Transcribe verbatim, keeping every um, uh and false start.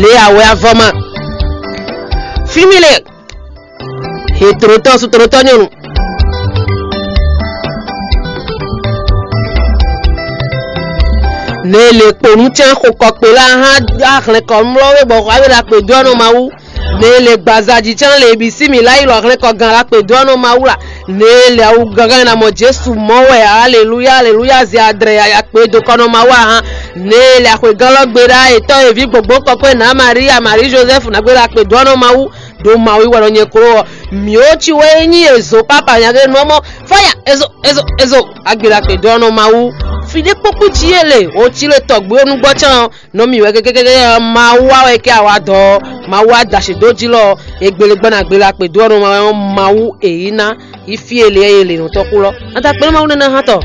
Lě awɛ avɔ ma. Fí mi le. He tlotɔ su tlotɔ nyɔnu. Ne le kponu cɛn xo kɔkpe la hã ahlɛn kɔ mlɔ we bɔ xɔ awe la kpe dó ɔnɔ Mawu. Ne le gbazaji cɛn le bi sí mi la yi lɔ ahlɛn kɔ gan la kpe dó ɔnɔ Mawu la. Ne le awu gangan na mɔ Jesu mɔ wɛ, aleluya aleluya, zɛ adrɛ ya kpe do kɔnɔ Mawu ahan. Ne le axwe gan lɔ gbe ɖa etɔ evi gbogbo kɔkɔe na Maria Marie Joseph na gbe la kpe dó ɔnɔ Mawu. Ɖo Mawu wɛ nɔ nyɛ klo ɔ, mǐwo ci wɛ nyí ezo papa nyagbe nɔ mɔ fɔya ezo ezo ezo agbila kpe dó ɔnɔ Mawu. Fi ɖé kpókpí ci yé le o ci le tɔgbe onúgbɔ cán ɔ, nɔ mì wɛ kékékéké ɔ, Mawu wa wɛ kɛ awa dɔ ɔ, Mawu wa da ṣe dó jí lɔ ɔ, egbele gbɔn agbila kpe dó ɔnɔ Mawu Mawu èyí ná yi fí ele e le nɔ tɔ́ kú lɔ. Ata kpɛ́n Mawu nɛ́ ná hán tɔ.